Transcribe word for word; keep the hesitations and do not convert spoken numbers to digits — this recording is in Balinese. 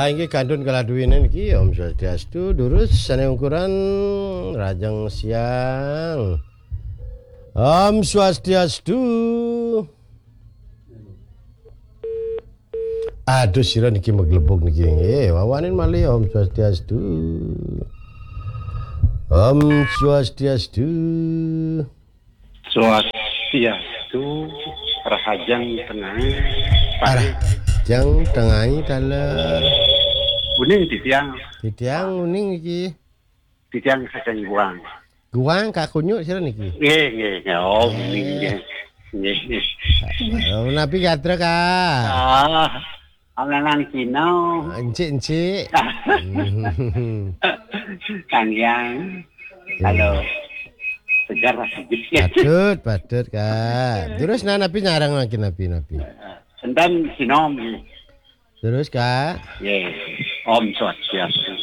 Inggih kantun kaladuwina niki, Om Swastiastu, durus sané ungkuran rahajeng siang. Om Swastiastu. Aduh, sira niki maglebug niki nggih. Wawanin malih, Om Swastiastu. Om Swastiastu. Swastiastu, rahajeng tengai. Rahajeng tengai taler. Uning titiang. Titiang uning niki. Titiang saking Guang. Guang Kak Kunyuk sira niki. Nggih, nggih, nggih. Oh, uning nggih. Nggih. Oh, napi gatra, Kak? Ah, alangan sinau. Encik-encik. Kang Yang. Halo. Segar sedikit. Patut, patut, Kak. Terus nah, napi nyarang makin napi-napi. Enten sinom. Terus, Kak? Nggih. Om Swastiastu.